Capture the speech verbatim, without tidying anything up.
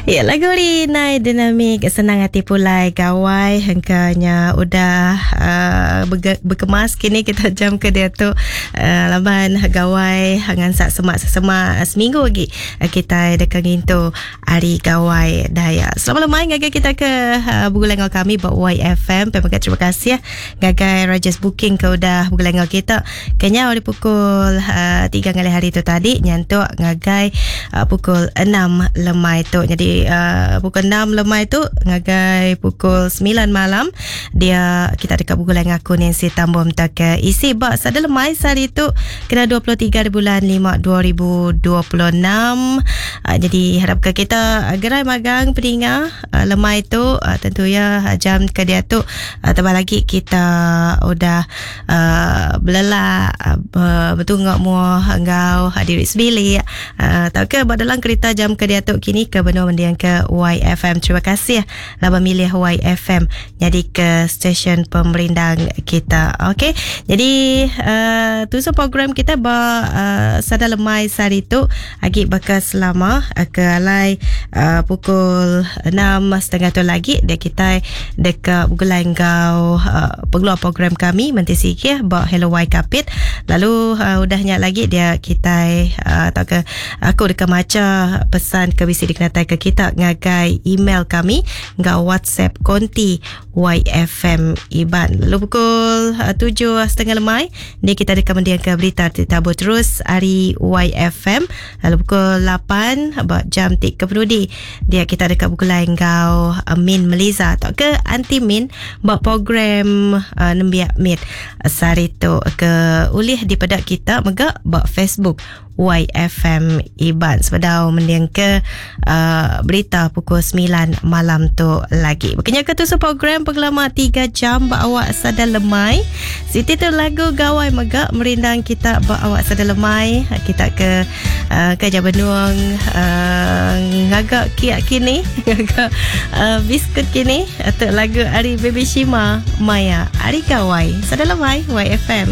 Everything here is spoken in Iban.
Ya, lagu Rinai Dinamik Senang Hati Pulai Gawai hengkanya udah uh, berkemas kini kita jam ke dia tu uh, laban gawai ngansak semak semak seminggu lagi uh, kita dekat ngintu hari gawai Dayak. Selamat lemai ngagai kita ke uh, bergulai dengan kami buat Y F M. Terima kasih kasih ngagai Rajas Booking ke udah bergulai dengan kita. Kenya di pukul uh, tiga ngalih hari tu tadi nyantuk ngagai uh, pukul enam lemai tu. Jadi Uh, pukul enam lemai tu ngagai pukul sembilan malam dia kita dekat pukul lain aku Nancy Tambom tak ke isi bak sada lemai sehari tu kena dua puluh tiga bulan lima dua ribu dua puluh enam. Uh, jadi harap ke kita gerai magang peninga uh, lemai tu uh, tentu ya jam ke dia tu uh, tambah lagi kita udah uh, belelak uh, bertunggak muah enggau diri sebilik uh, tak ke buat dalam kereta jam ke dia tu kini ke benua mendiang ke Y F M. Terima kasih lah memilih Y F M jadi ke stesen pemerindang kita. Okey. Jadi uh, tujuh program kita ba uh, sada lemai sehari tu agi bakal selama uh, ke alai uh, pukul enam setengah tu lagi dia kita dekat bergulai enggau uh, pengeluar program kami Menteri Sikih ba Hello Y Kapit. Lalu uh, udahnya lagi dia kita uh, tak ke aku dekat maca pesan ke bisi dikenatai ke kita ngagai email kami ngau WhatsApp konti Y F M Iban. Lalu pukul uh, tujuh setengah lemai ni kita dekat mendiang ke berita tabur terus hari Y F M. Lalu pukul lapan buat jam tik ke penudi dia kita dekat pukul lain ngau uh, Min Meliza atau ke Anti Min buat program uh, Nembiak Mid sehari tu ke ulih di pedak kita megak buat Facebook Y F M Iban. Sebedau mendiang ke uh, berita pukul sembilan malam tu lagi. Berkenya ke tu program pengelama tiga jam bak awak sadar lemai. Siti tu lagu gawai megak merindang kita bak awak sadar lemai. Kita ke uh, ke Jabenuang uh, ngagak kiak kini, ngagak uh, biskut kini atau lagu Ari Baby Shima Maya Ari Gawai. Sadar lemai Y F M.